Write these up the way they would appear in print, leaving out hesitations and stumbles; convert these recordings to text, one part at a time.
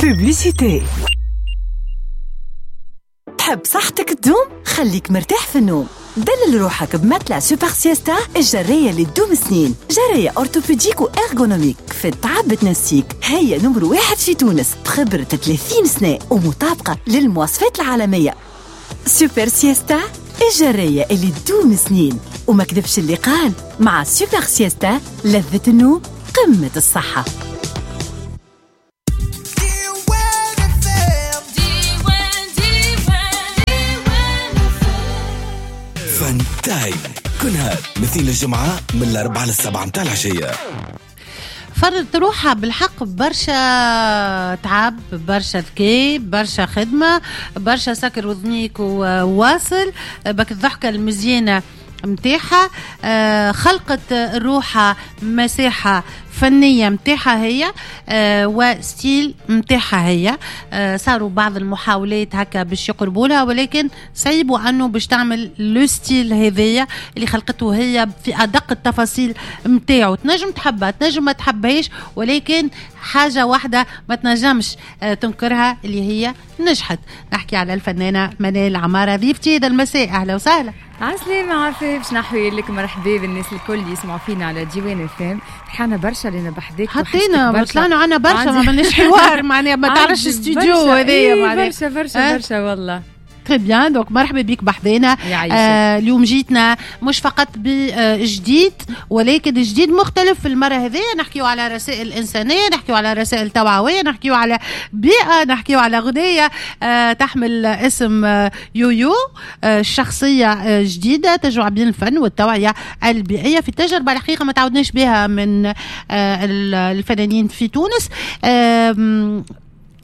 Publicité. تحب صحتك تدوم؟ خليك مرتاح في النوم. دلل روحك ب matelas Super Siesta، الجرية اللي تدوم سنين، جرية orthopédique و ergonomique في التعب تنسيك. هي نمر واحد في تونس بخبرة 30 سنة ومطابقة للمواصفات العالمية. Super Siesta، الجرية اللي تدوم سنين. وما كذبش اللي قال، مع Super Siesta لذة النوم قمة الصحة. Fun Time كل نهار مثل الجمعة من 4 ل 7 متاع العشية. فرضت روحها بالحق برشا تعب، برشا ذكاء، برشا خدمة، برشا سكر وذنيك وواصل بك الضحكة المزيانة متاعها. خلقت روحها مساحة فنية متاعها هي، و style متاعها هي. صاروا بعض المحاولات هكا باش يقربوا لها، ولكن صعيبوا انه باش تعمل le style هذايا اللي خلقته هي في ادق التفاصيل متاعو. تنجم تحبها، تنجم ما تحبهاش، ولكن حاجة واحدة ما تنجمش تنكرها اللي هي نجحت. نحكي على الفنانة منال عمارة ضيفتي هذا المساء. أهلا وسهلا. عسلامة عفاف، باش نحوي لك مرحبا بالناس الكل يسمعوا فينا على ديوان FM. فرحانة برشا لنا بحذاك. حطينا طلعنا عنا برشا، ما عملناش حوار معناها، ما تعرفش استوديو هذايا معناها. برشا برشا برشا والله. très bien، donc مرحبا بك بحذانا. اليوم جيتنا مش فقط بجديد، ولكن جديد مختلف في المرة هذه. نحكيو على رسائل إنسانية، نحكيو على رسائل توعوية، نحكيو على بيئة، نحكيو على غنية تحمل اسم يويو، شخصية جديدة تجمع بين الفن والتوعية البيئية في تجربة الحقيقة ما تعودناش بها من الفنانين في تونس.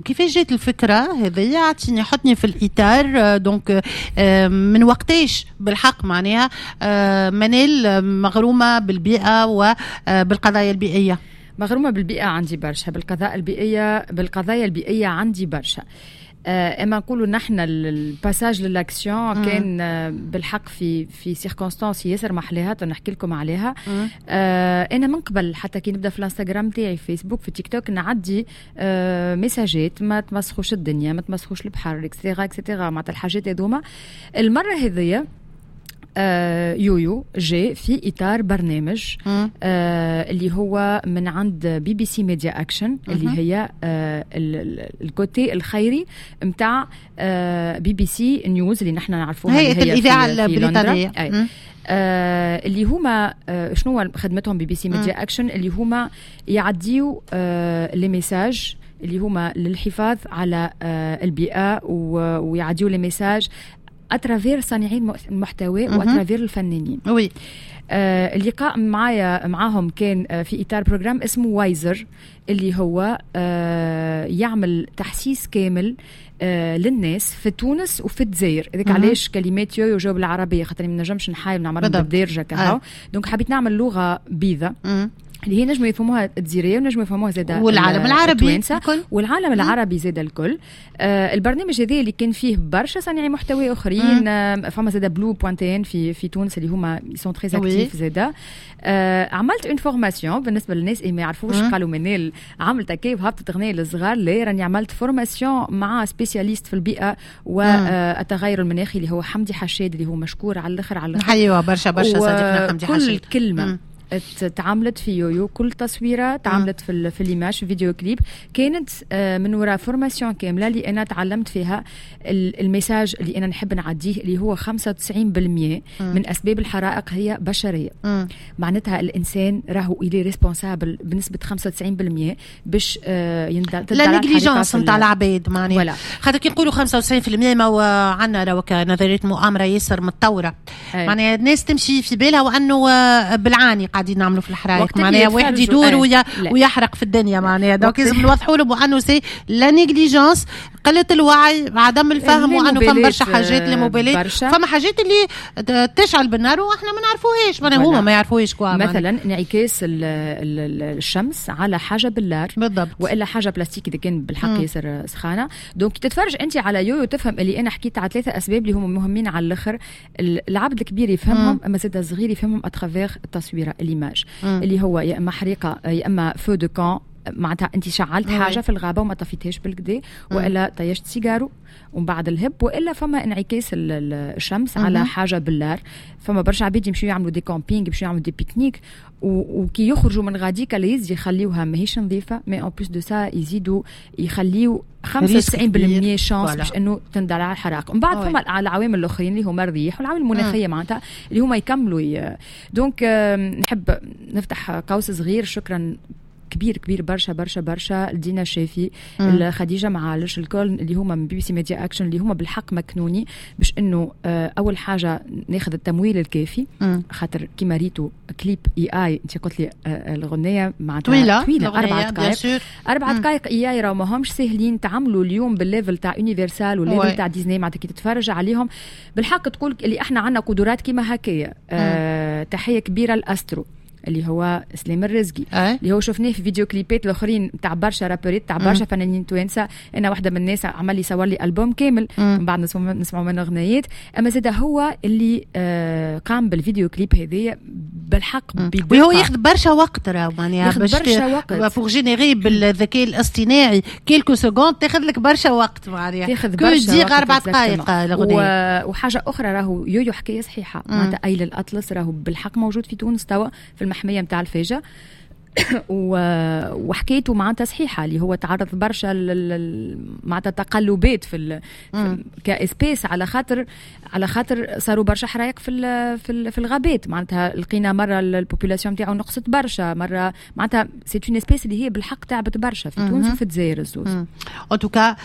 كيفاش جات الفكرة هذيا؟ اعطيني، حطني في الإطار. donc من وقتاش بالحق معناها منال مغرومة بالبيئة وبالقضايا البيئية؟ مغرومة بالبيئة عندي برشا، بالقضايا البيئية عندي برشا. اما نقولوا نحن ال passage ل l'action كان بالحق في circonstances ياسر محلاها، نحكي لكم عليها. انا من قبل حتى كي نبدا في الانستغرام تاعي، في فيسبوك، في تيك توك، نعدي messages ما تمسخوش الدنيا، ما تمسخوش البحر، et cetera et cetera، معناتها الحاجات هذوما. المرة هذيا يويو جاء في اطار برنامج اللي هو من عند BBC Media Action، اللي هي ال côté الخيري نتاع BBC News اللي نحن نعرفوها، هي الاذاعة البريطانيه. اللي هما شنو خدمتهم BBC Media Action؟ اللي هما يعديو les messages اللي هما للحفاظ على البيئه، ويعديو les messages à travers صانعين المحتوى و à travers الفنانين. oui. اللقاء معايا معاهم كان في اطار programme اسمه Wiser، اللي هو يعمل تحسيس كامل للناس في تونس وفي الجزائر. هذاك علاش كلمات يويو جاو بالعربيه، خاطر ما نجمش نحاول نعملهم بالدارجة كهو. donc حبيت نعمل لغة بيضاء اللي هي نجموا يفهموها الجزائرية ونجموا يفهموها زاده والعالم العربي الكل، والعالم العربي زاده الكل. البرنامج هذا اللي كان فيه برشا صانعي محتوى اخرين، فما زاده Blue point tn في تونس اللي هما sont très actifs زاده. عملت une formation بالنسبة للناس اللي ما يعرفوش، قالوا منال عملت كيف هبطت اغنية للصغار؟ لا، راني عملت formation مع spécialiste في البيئة والتغير المناخي اللي هو حمدي حشاد، اللي هو مشكور على الاخر على الاخر. ايوه برشا برشا صديقنا حمدي حشاد. كل كلمة تعاملت في يويو، كل تصويره تعاملت في l'image في vidéo clip كانت من وراء formation كاملة اللي انا تعلمت فيها ال message اللي انا نحب نعديه، اللي هو 95% من اسباب الحرائق هي بشريه. معناتها الانسان راهو il est responsable بنسبة 95% باش la négligence نتاع العباد معناها. خاطر كي نقولوا 95% ما هو عندنا راهو نظرية مؤامرة ياسر متطوره، معناها الناس تمشي في بالها وانه بالعاني قاعدين نعملوا في الحرايق، معناها واحد يدور ويحرق في الدنيا معناها. donc لازم نوضحوا لهم انه c'est la négligence، قلة الوعي، عدم الفهم، وانه فما برشا حاجات لا، فما حاجات اللي تشعل بالنار واحنا ما نعرفوهاش، معناها هما ما يعرفوهاش quoi. مثلا انعكاس الشمس على حاجة باللار بالضبط، والا حاجة بلاستيك اذا كان بالحق ياسر سخانه. donc تتفرج انت على يويو تفهم اللي انا حكيت على ثلاثة اسباب اللي هما مهمين على الاخر، العبد الكبير يفهمهم، اما زاد الصغير يفهمهم à travers التصويره l'image، اللي هو يا اما حريقة يا اما feu de camp. معناتها انت شعلت حاجة في الغابة وما طفيتهاش بالكدا، والا طيشت سيجارو ومن بعد الهب، والا فما انعكاس الشمس على حاجة باللار. فما برشا عباد يمشيو يعملوا des campings، يمشيو يعملوا des pique-niques، وكي يخرجوا من غاديك ليز يخليوها ماهيش نظيفه، mais en plus de ça يزيدوا يخليو 95% chance باش انه تندلع الحرائق. ومن بعد فما العوامل الاخرين اللي هما الريح والعوامل المناخية معناتها اللي هما يكملوا. donc نحب نفتح قوس صغير، شكرا كبير كبير برشا برشا برشا لدينا الشافي، خديجة معالش، الكل اللي هما من BBC Media Action، اللي هما بالحق مكنوني باش انه اول حاجة ناخذ التمويل الكافي، خاطر كيما ريتو clip AI، انت قلت لي الغنية معناتها طويله، طويله، 4 دقائق، 4 دقائق AI راهو ماهمش ساهلين تعملوا اليوم بال level تاع Universal وال level تاع ديزني. معناتها كي تتفرج عليهم بالحق تقول اللي احنا عندنا قدرات كيما هكايا. تحية كبيرة لاسترو اللي هو سليم الرزقي، اللي هو شفناه في فيديو كليبات الاخرين تاع برشا rappeur ات، تاع برشا فنانين توانسه. انا واحدة من الناس عمل لي صور لي البوم كامل، من بعد نسمعوا منه اغنيات. اما زاد هو اللي قام بالفيديو كليب هذايا بالحق. بدقه، وهو ياخذ برشا وقت راهو. معناها ياخذ برشا وقت pour générer بالذكاء الاصطناعي quelques secondes تاخذ لك برشا وقت، معناها تاخذ برشا وقت، 4 دقائق الاغنيه. وحاجه اخرى، راهو يويو حكاية صحيحه، معناتها ايل الاطلس راهو بالحق موجود في تونس توا في المحميه نتاع الفاجه، وحكايته معناتها صحيحه، اللي هو تعرض برشا معناتها تقلبات في ك espèce، على خاطر صاروا برشا حرايق في الغابات. معناتها لقينا مرة ال population نتاعو نقصت برشا مره، معناتها c'est une espèce اللي هي بالحق تعبت برشا في تونس وفي الجزائر الزوز. en tout cas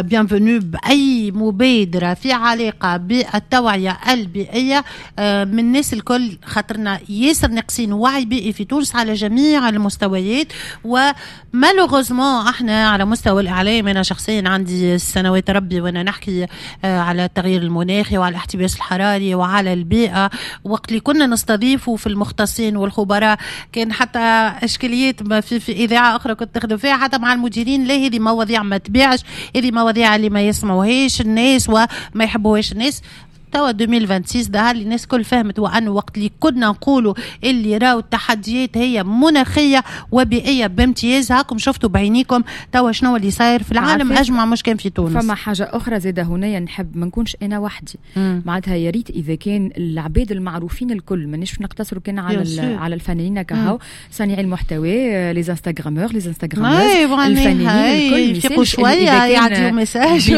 bienvenue باي مبادرة في علاقة بالتوعية البيئية من الناس الكل، خاطرنا ياسر ناقصين وعي بيئي في تونس على جميع المستويات. و malheureusement احنا على مستوى الاعلام، انا شخصيا عندي سنوات ربي وانا نحكي على التغيير المناخي وعلى الاحتباس الحراري وعلى البيئه، وقت اللي كنا نستضيفوا في المختصين والخبراء كان حتى اشكاليات في اذاعة اخرى كنت نخدم فيها، حتى مع المديرين، لا هذه مواضيع ما تبيعش، هذه مواضيع اللي ما يسمعوهاش الناس وما يحبوهاش الناس. توا 2026 ظهر لي الناس كل فهمت، وانه وقت اللي كنا نقولوا اللي راهو التحديات هي مناخيه وبيئيه بامتياز، هاكم شفتوا بعينيكم توا شنو اللي صاير في العالم اجمع، مش كان في تونس. فما حاجة اخرى زاده هنا، نحب ما نكونش انا وحدي، معناتها يا ريت اذا كان العباد المعروفين الكل، مانيش نقتصروا كان على الفنانين كهو، صانعي المحتوى، les instagrameurs، les instagrameuses، الفنانين الكل يفيقوا شويه، يعطيو message.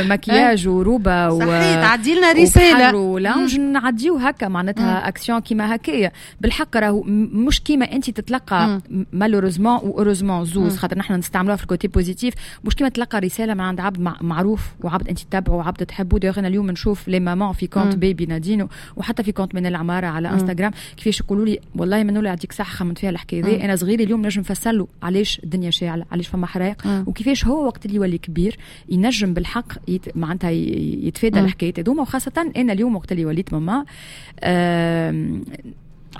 مكياج وروبه و صحيح، تعدي لنا رساله. و lounge نعديو هكا معناتها اكسيون كيما هكايا. بالحق راهو مش كيما انت تتلقى malheureusement و heureusement زوز، خاطر نحن نستعملوها في ال côté positif، مش كيما تلقى رسالة من عند عبد معروف وعبد انت تتابعه وعبد تحبه. d'ailleurs انا اليوم نشوف les mamans في compte بيبي نادينو وحتى في compte منال العمارة على انستغرام كيفاش يقولوا لي والله منولة يعطيك صح، خممت فيها الحكاية ذي، انا صغيري اليوم نجم نفسر له علاش الدنيا شاعله، علاش فما حرايق، وكيفاش هو وقت اللي يولي كبير ينجم بالحق معناتها يتفادى الحكايات هذوما. وخاصة انا اليوم وقت اللي وليت ماما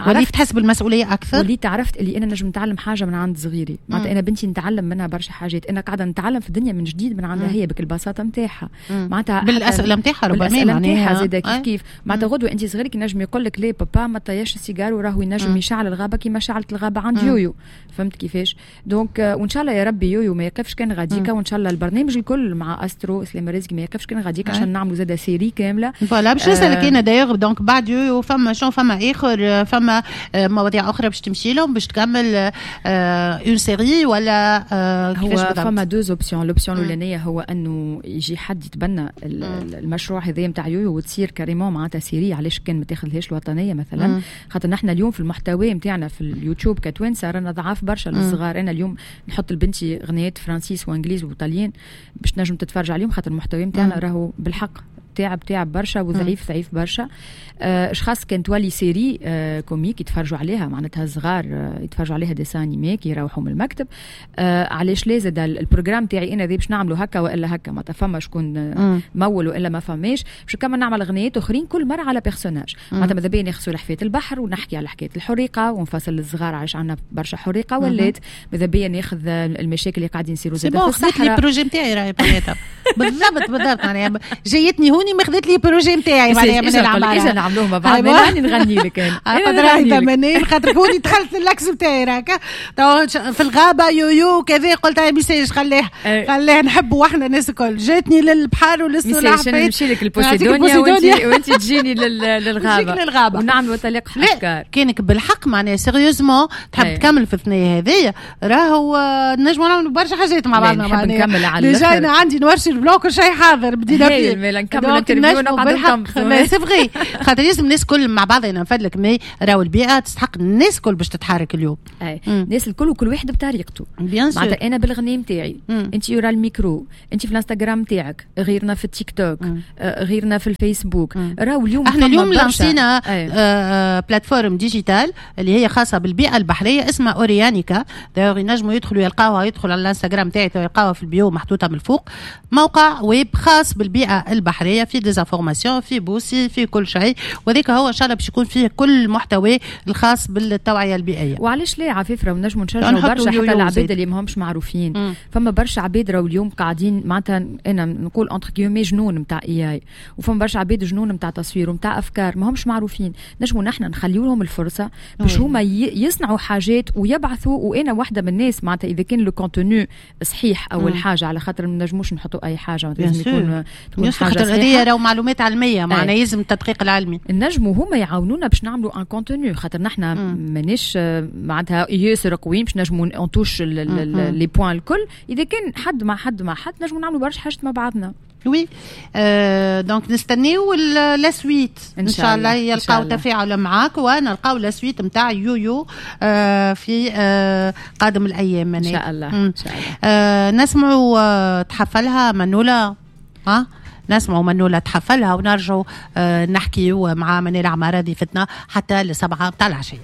وليت تحس بالمسؤولية اكثر. وليت عرفت اللي انا نجم نتعلم حاجة من عند صغيري. معناتها انا بنتي نتعلم منها برشا حاجات، انا قاعدة نتعلم في الدنيا من جديد من عندها هي بكل بساطة نتاعها. معناتها بالاسئلة نتاعها ربما. بالاسئلة نتاعها زاده كيف كيف. معناتها غدوه انت صغيرك ينجم يقول لك ليه بابا ما طياش السيجار، وراهو ينجم يشعل الغابة كيما شعلت الغابة عند يويو. فهمت كيفاش؟ donc وان شاء الله يا ربي يويو ما يقفش كان غاديكا، وان شاء الله البرنامج الكل مع استرو سليم رزق ما يقفش كان غاديكا، عشان نعملوا زاده série كامله. voilà باش نسالك انا d'ailleurs، donc بعد يويو فما شنو؟ فما اخر، فما مواضيع اخرى باش تمشي لهم، باش تكمل une série ولا كيفاش؟ هو فما deux options. l'option الاولانية هو انه يجي حد يتبنى المشروع هذا نتاع يويو وتصير carrément معناتها série. علاش كان ما تاخذهاش الوطنية مثلا؟ خاطر نحن اليوم في المحتوى نتاعنا في اليوتيوب كتوانسه رانا ضعاف برشا للصغار. انا اليوم نحط لبنتي غنيات فرانسيس وانجليز وطاليان باش نجم تتفرج عليهم، خاطر المحتوى نتاعنا راهو بالحق تعب تعب برشا وضعيف ضعيف برشا. اشخاص كان تولي série comique يتفرجوا عليها، معناتها صغار يتفرجوا عليها dessins animés كي يروحوا من المكتب، علاش لا؟ زاد ال programme تاعي انا ذي باش نعملوا هكا والا هكا، معناتها فما شكون مول والا ما فماش، باش كمان نعمل غنيات اخرين كل مرة على personnage. معناتها ماذا بيا ناخذ سلحفاة البحر ونحكي على حكاية الحريقه ونفصل للصغار علاش عندنا برشا حريقه ولات. ماذا بيا ناخذ المشاكل اللي قاعدين يصيروا زاد في الصحراء. les projets نتاعي راهي. بالضبط بالضبط، معناها جايتني هوني ما خذت لي projet نتاعي معناها من العمارة. اجا نعملوه مع بعض، راني نغني لك انا. خاطر منال، خاطر هوني دخلت l'axe نتاعي راك في الغابة يويو كذا، قلت هاي ميسالش خليه خليه نحبوا احنا الناس الكل. جاتني للبحر وللسلاح. نمشي لك البوسيدونيا وانت تجيني للغابه للغابه ونعملوا تلاقح افكار. كانك بالحق معناها sérieusement تحب تكمل في الثنية هذيا، راهو نجموا نعملوا برشا حاجات مع بعضنا. نحب نكمل على déjà انا عندي noir sur blanc، كل شيء حاضر، بدينا فيه. نكمل l'interview ونقعدوا. c'est vrai، خاطر لازم الناس الكل مع بعض. انا نفدلك، mais راهو البيئة تستحق الناس الكل باش تتحرك اليوم. اي، الناس الكل وكل واحد بطريقته. bien sûr. معناتها انا بالغناء نتاعي، انت ورا الميكرو، انت في الانستغرام نتاعك، غيرنا في التيك توك، غيرنا في الفيسبوك. راهو اليوم احنا اليوم لانسينا plateforme digitale اللي هي خاصة بالبيئة البحرية اسمها اوريانيكا. d'ailleurs ينجموا يدخلوا يلقاوها، يدخلوا على الانستغرام تاعي يلقاوها في ال bio محطوطة من الفوق. موقع ويب خاص بالبيئة البحريه، في des informations، في بوسي، في كل شيء، وذيك هو ان شاء الله باش يكون فيه كل المحتوى الخاص بالتوعية البيئيه. وعلاش لا عفيف، راهو نجموا نشجعوا برشا حتى العباد اللي ماهمش معروفين. فما برشا عباد راهو اليوم قاعدين، معناتها انا نقول entre guillemets جنون نتاع AI، وفما برشا عباد جنون نتاع تصوير ونتاع افكار ما همش معروفين. نجموا نحن نخليو لهم الفرصة باش هما يصنعوا حاجات ويبعثوا. وانا واحدة من الناس، معناتها اذا كان le contenu صحيح اول حاجه، على خاطر ما نجموش نحطوا اي حاجه، لازم يكون تكون حاجة صحيحه. هذه راهو معلومات علميه، معناها لازم التدقيق العلمي. نجموا هما يعاونونا باش نعملوا un contenu، خاطر نحن مانيش معناتها ياسر قويين باش نجموا on touche les points الكل. اذا كان حد مع حد مع حد نجموا نعملوا برشا حاجات مع بعضنا. oui، donc نستنيو la suite ان شاء الله، يلقاو تفاعل معاك ونلقاو la suite نتاع يويو في قادم الايام. ان شاء الله، ان شاء الله. نسمعوا تحفلها منوله، ها نسمعوا منولة تحفلها ونرجعوا نحكيو مع منال عمارة ضيفتنا حتى ل7 تاع العشية.